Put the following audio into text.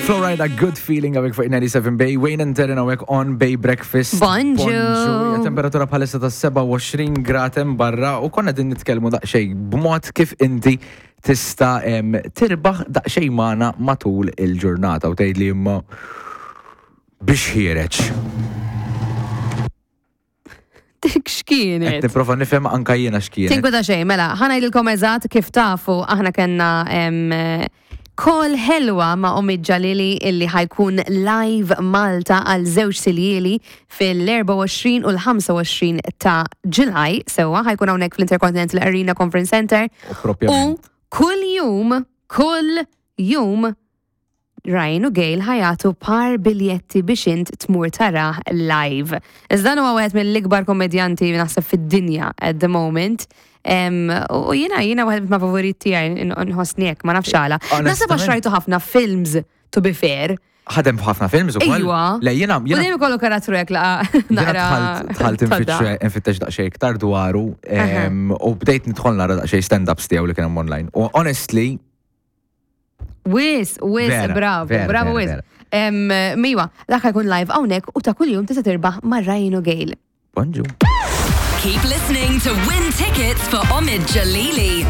Florida, good feeling għawek fuq 97 Bay. Wayne and Terren għawek on Bay Breakfast. Bonġu. Hija Temperatura bħalissa ta' 27 grad hemm barra u konna din nitkellmu daqsxejn b'mod kif inti tista' tirbaħ daqsxejn magħna matul il-ġurnata u tgħidli imma biex ħiereġ. Dik x'kienet? Qed nipprova nifhem anka jiena x'kienet. Tinkweta xejn, mela, ħa ngħidilkom eżatt kif tafu aħna kellna call ħelwa ma' Omid Jalili illi ħajkun live Malta għal żewġ siljieli fil-24 u l-25 ta' July, sewwa ħajkun hawnhekk fl-Intercontinental Arena Conference Center. U kull jum, kull jum Ryan u Gail ħa jagħtu par biljetti biex int tmur tarah live. Iżda dan huwa wieħed mill-ikbar kommedjanti naħseb fid-dinja at the moment. U jiena jiena wieħed ma' favorit tiegħi nħossni hekk, ma nafx għala. Naħseb għax rajtu ħafna films to be fair. Ħadem f'ħafna films ukoll. Iwa. Le jiena U dejjem ikollu karattru hekk laqa naqra. Dħalt infittex daqsxejn iktar dwaru u bdejt nidħol nara daqsxejn stand-ups tiegħu li kien hemm online. U honestly, Wis, wis, bravo, bravo, wis. Miwa, dak jkun live hawnhekk u ta' kuljum tista' tirbaħ ma' Ryan u Gail. Bonġu. Keep listening to win tickets for Omid Jalili.